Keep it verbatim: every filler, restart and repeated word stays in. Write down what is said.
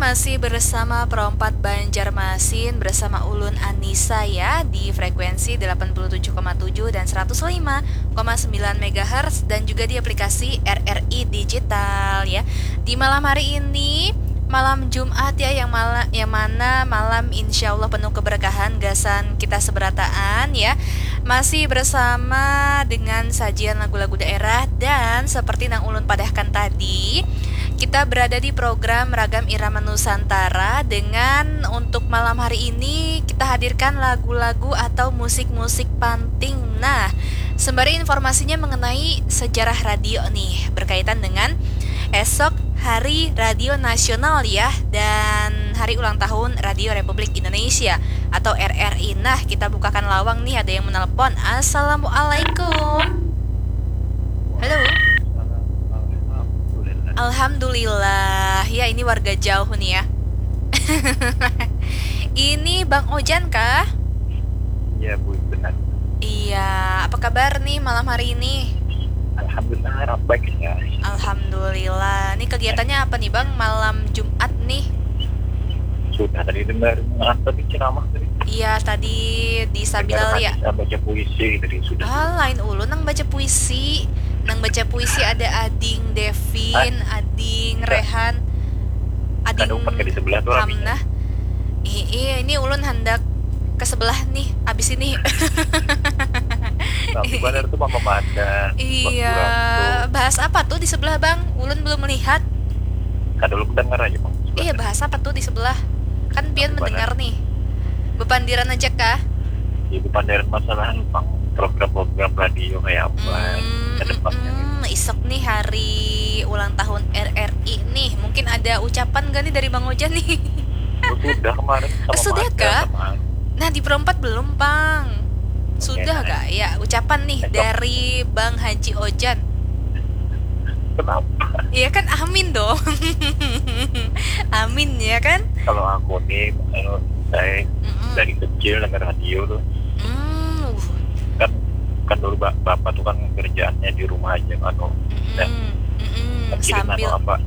Masih bersama Pro empat Banjarmasin, bersama ulun Anissa ya, di frekuensi delapan puluh tujuh koma tujuh dan seratus lima koma sembilan megahertz, dan juga di aplikasi R R I Digital ya. Di malam hari ini, malam Jumat ya, yang mala-, yang mana malam insya Allah penuh keberkahan gasan kita seberataan ya. Masih bersama dengan sajian lagu-lagu daerah, dan seperti nang ulun padahkan tadi, kita berada di program Ragam Irama Nusantara, dengan untuk malam hari ini kita hadirkan lagu-lagu atau musik-musik panting. Nah, sembari informasinya mengenai sejarah radio nih, berkaitan dengan esok Hari Radio Nasional ya, dan hari ulang tahun Radio Republik Indonesia atau R R I. Nah, kita bukakan lawang nih, ada yang menelpon. Assalamualaikum. Halo. Alhamdulillah. Ya, ini warga jauh nih ya. Ini Bang Ojan kah? Iya, Bu, benar. Iya, apa kabar nih malam hari ini? Alhamdulillah, baik ya. Alhamdulillah. Ini kegiatannya apa nih, Bang, malam Jumat nih? Sudah tadi dengar, dengar tadi ceramah tadi. Iya, tadi di Sambil ya. Baca puisi tadi sudah. Ah, lain ulun nang baca puisi. Nang baca puisi ada Ading Devin, ah, Ading Rehan, Ading Hamnah. Ih, iya, ini ulun handak ke sebelah nih, abis ini. Tapi benar tuh mama madan. Iya, bahas apa tuh di sebelah, Bang? Ulun belum melihat. Kada lu dengar aja, Bang. Iya, bahas apa tuh di sebelah? Kan pian mendengar nih. Bepandiran aja kah? Ya, bepandiran masalah, Bang, program-program radio kayak apa ke depannya. Hmm, isok nih hari ulang tahun R R I nih. Mungkin ada ucapan gak nih dari Bang Ojan nih? Oh, sudah kemarin sama. Oh, sudah kah? Nah, di Pro empat belum, Bang. Sudah gak? Ya, ucapan nih dari Bang Haji Ojan. Kenapa? Iya kan, amin dong. Amin, ya kan? Kalau aku nih, kalau saya dari kecil dengar radio tuh. Hmm. Kan, kan dulu ba-, bapak tuh kan kerjaannya di rumah aja kan, oh. Mm-mm. Sambil apa?